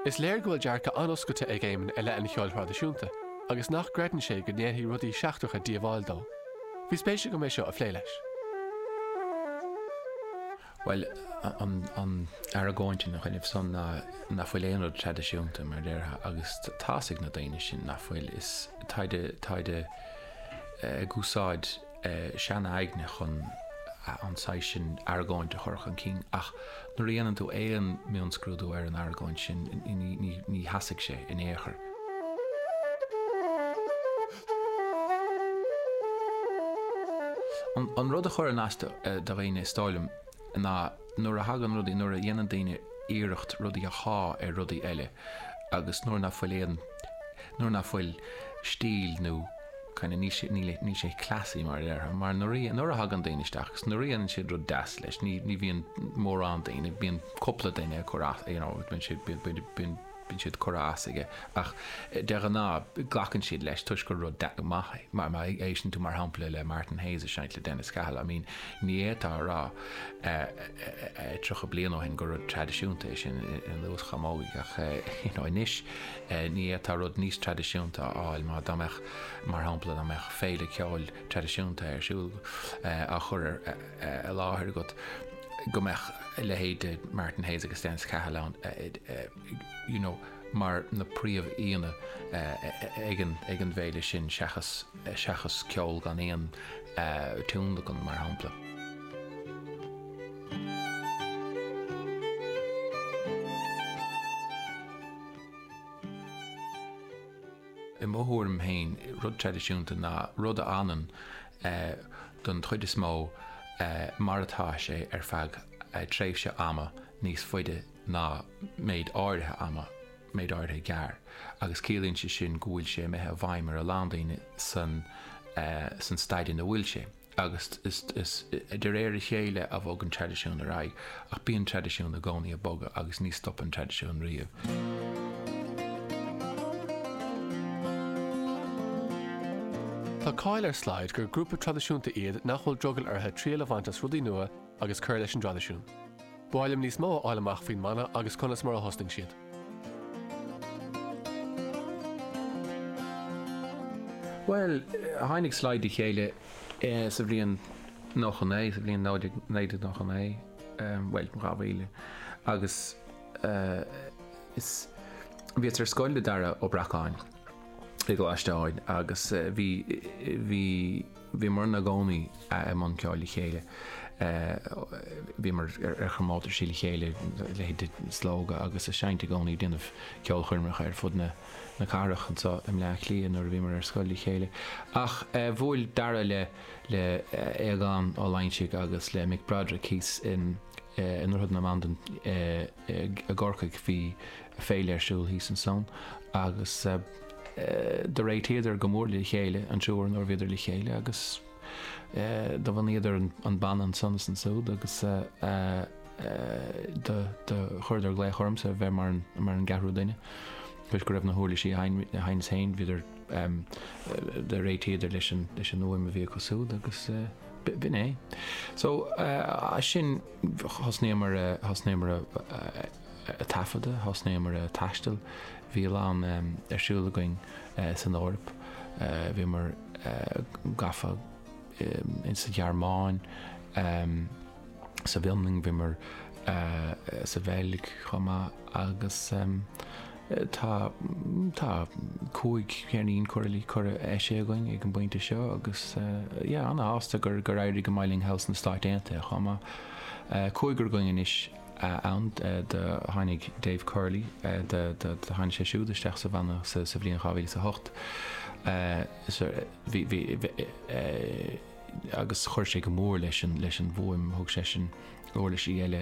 Is léir go bhfuil dearcadh an-oscailte ag Éamonn i leith an cheoil thraidisiúnta agus nach gcreideann sé go ndéanfaidh rudaí seachtracha díobháil dó. Bhí spéis agam é seo a phlé leis. Bhuel, an argóint ina choinnibh san ná nach bhfuil aon rud traidisiúnta, mar a déarfá, agus tá's ag na daoine sin nach bhfuil. Is táid, táid ag úsáid sean-aigne chun an saghas sin argóint a chur chun cinn, ach nuair a dhéanann tú aon mhionscrúdú ar an argóint sin, ní sheasfaidh sé in aon chor. An rud a chuireann as do dhaoine, is dóigh liom, ná nuair a thagann rudaí, nuair a dhéanann daoine iarracht rudaí a shá ar rudaí eile agus nuair nach bhfuil aon, nuair nach bhfuil stíl nó kind of níl sé, níl, níl sé classy mar a déarfá, mar nuair a, nuair a thagann daoine isteach agus nuair a dhéanann siad rud deas leis, ní, ní bhíonn mórán daoine, bíonn cúpla duine ag cur as, you know, bíonn siad, bíonn, bíonn, bíonn, bíonn siad curtha as aige ach de ghnáth glacann siad leis toisc gur rud maith é. Má éisteann tú mar shampla le Martin Hayes ag seinnt le Dennis Cahill, I mean ní fhéadfá a rá 30 bliain ó shin gur rud traidisiúnta é sin i luas chamógaí ach you know anois ní fhéadfá rud níos traidisiúnta a fháil má dá mbeadh mar shampla dá mbeadh féile ceoil traidisiúnta ar siúl á chur ar i láthair agat go mbeadh a leithéid de Martin Hayes agus Dennis Cahill ann you know mar na príomh-aíonna ag an ag an bhféile sin seachas seachas ceol gan aon tionlacan mar shampla. I mo thuairim féin, rud traidisiúnta ná rud a fhanann don chuid is mó mar atá sé ar feadh tréimhse ama níos faide ná méid áirithe ama, méid áirithe gearr, agus ciallaíonn sé sin go bhfuil sé imithe i bhfeidhm ar a lán daoine san san staid ina bhfuil sé. Agus is de réir a chéile a bhogann traidisiún ar aghaidh, ach bíonn traidisiún i gcónaí ag bogadh agus ní stopann traidisiún riamh. Tá cáil ar Slide gur grúpa traidisiúnta iad nach bhfuil drogall orthu triail a bhaint as rudaí nua agus cur leis an dtraidisiún. Ba mhaith liom níos mó a fháil amach faoin mbanna agus conas mar a thosnaigh siad. Bhuel, tháinig Slide le chéile sa bhliain 99, sa bhliain 1999, bhuel, 2000, agus is, bhíos ar scoil le Dara Ó Bracáin i gColáiste Eoin agus bhí, bhí, Bhíomar inár gcónaí i mbun ceoil le chéile. Bhíomar ar chomórtaisí le chéile, leithéid de Slógadh agus ag seinnt i gcónaí, ag déanamh ceolchoirmeacha ar fud na cathrach anseo i mBleá Cliath nuair a bhíomar ar scoil le chéile. Ach bhuail Dara le le Aogán Ó Loingsigh agus le Mick Broderick thíos in i nDroichead na Bandan i gCorcaigh. Bhí féile ar siúl thíos ansan agus do réitíodar go mór le chéile an triúr nuair a bhíodar le chéile agus do bhunaíodar an banna ansan is ansúd agus do chuireadar glaoch ormsa a bheith mar an gceathrú duine toisc go raibh na huirlisí a sheinneas féin, bhíodar, do réitíodar leis an fhuaim a bhí acu súd agus b'in é. So as sin thosnaíomar, thosnaíomar a taifeadadh, thosnaíomar a taisteal, bhí a lán ar siúl againn san Eoraip, bhíomar gafa sa Ghearmáin, sa bhFionlainn, bhíomar sa Bheilg chomh maith agus tá tá 5 cheirnín curtha curtha eisithe againn ag an bpointe seo agus yeah ana-shásta gur gur éirigh go maith linn thall sna Stáit Aontaithe chomh maith. Cúigear againn anois ann do tháinig Dave Curley do tháinig sé siúd isteach sa bhanna sa bhliain 2008 bhí bhí agus chuir sé go mór leis an leis an bhfuaim thug seisean uirlisí eile.